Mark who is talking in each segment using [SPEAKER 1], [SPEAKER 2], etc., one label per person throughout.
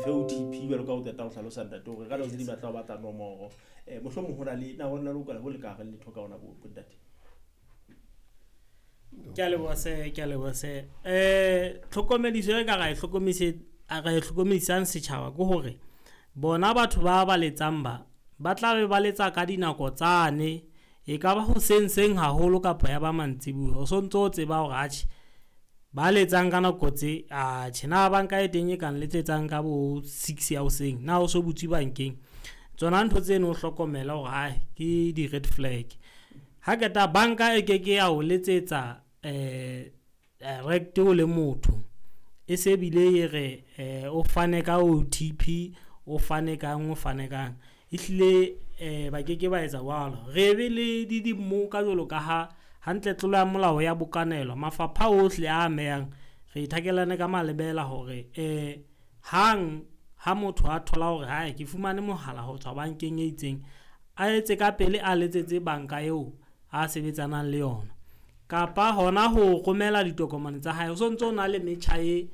[SPEAKER 1] Fe OTP jwalo ka o qeta ho hlalosa ntate hore ka nako tse ding ba tla o batla nomoro. Mohlomong ho na le na ho na le ho le ka reng letho ka ona bo ntate.
[SPEAKER 2] Ke a leboha se, ke a leboha se. Tlhokomediso e ka ra e hlokomise ra e hlokomedisang setjhaba ke hore bona batho ba ba letsang ba ba tla be ba letsa ka dinako tsane. E kaba hoseng seng haholo kapa ya ba mantsibuya. O sontso o tseba hore atjhe ba letsang ka nako tse, atjhe na banka e teng e kang letsetsang ka bo six ya hoseng na o so butswe bankeng. Tsona ntho tseno o hlokomele hore ae ke di-red flag. Ha qeta banka e keke ya o letsetsa direct o le motho, e se bile e re o fane ka OTP, o fane kang, o fane kang. Ehlile ba keke ba etsa jwalo. Re be le di dimmoka jwalo ka ha hantle tlolo ya molao ya bokanelwa. Mafapha ohle a amehang re thakelane ka malebela hore hang ha motho a thola hore hae ke fumane mohala ho tswa bankeng e itseng, a etse ka pele a letsetse banka eo a sebetsanang le yona. Kapa hona ho romela ditokomane tsa hae. O sontso o na le metjha e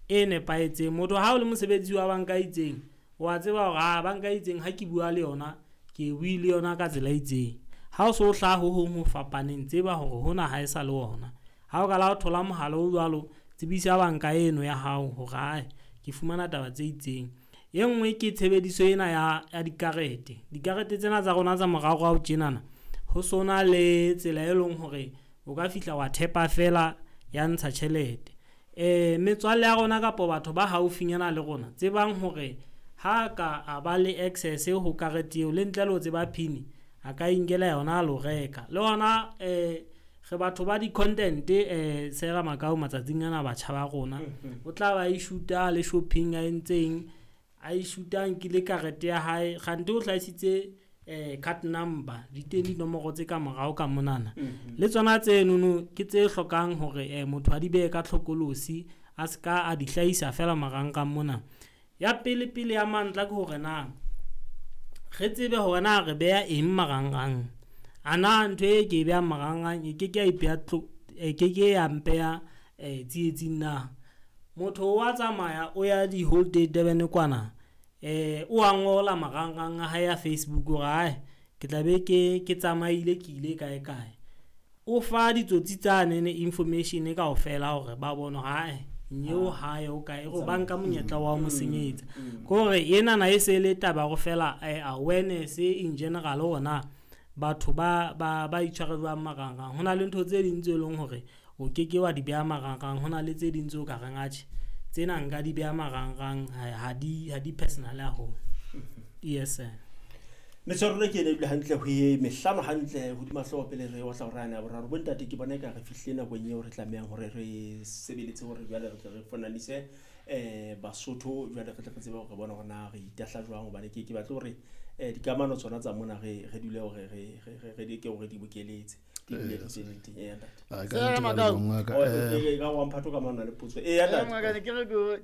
[SPEAKER 2] e nepahetseng. Motho ha o le mosebetsi wa banka e itseng, wa tseba hore ha banka e itseng ha ke bua le yona, ke bue le yona ka tsela e itseng. Ha o so hlaha ho hong ho fapaneng, tseba hore hona ha e sa le ona. Ha o qala ho thola mohala o jwalo, tsebisa banka eno ya hao hore ae ke fumana taba tse itseng. E nngwe ke tshebediso ena ya dikarete. Dikarete tsena tsa rona tsa moraorao tjenana, ho sona le tsela e leng hore o ka fihla wa thepa feela ya ntsha tjhelete. Metswalle ya rona kapa batho ba haufinyana le rona, tsebang hore ha ka a ba le access ho karete eo le ntle le ho tseba PIN, a ka inkela yona a lo reka. Le hona re batho ba di-content sera Makau matsatsing ana batjha ba rona. O tla ba e shoot-a le shopping a entseng, a e shoot-a a nkile karete ya hae. Kgante o hlahisitse card number, di teng dinomoro tse ka morao ka monana. Le tsona tsenono ke tse hlokang hore motho a di behe ka hlokolosi, a seka a di hlahisa feela marangrang mona. Ya pele pele ya mantla ke hore na re tsebe hore na re beha eng marangrang. A na ntho e ke e behang marangrang e keke ya ipeha e keke ya mpeha tsietsing na? Motho wa tsamaya o ya di-holiday Durban kwana, o a ngola marangrang a hae a Facebook hore ae ke tla be ke tsamaile ke ile kae kae. O fa ditsotsi tsane information kaofela hore ba bone hore ae nyeo hae o kae, o ba nka monyetla wa ho mo senyetsa. Ke hore enana e se le taba ya hore fela awareness in general hore na batho ba itshware jwang marangrang. Ho na le ntho tse ding tse leng hore o keke wa di beha marangrang, hona le tse ding tseo ka reng atjhe tsena nka di beha marangrang ha di personal haholo. Yes sir.
[SPEAKER 1] Metswalle rona ke ena ebile hantle ho e mehlano hantle hodima hlooho pele re otla hora yane ya boraro. Bo ntate ke bona eka re fihlile nakong eo re tlamehang hore re sebeletse hore jwale re tle re fonanise Basotho jwale re tle re tsebe hore re bone hore na re itahla jwang hobane ke batle hore dikamano tsona tsa mona re dule hore re leke hore di bokeletse. Di dule di tse di teng. Eya, ntate.
[SPEAKER 3] Ah, ka nnete wa leboha, ngaka.
[SPEAKER 1] Oh, ka wa mphato ka mona le potso. Eya, ntate.
[SPEAKER 3] Ngaka, ne ke re ke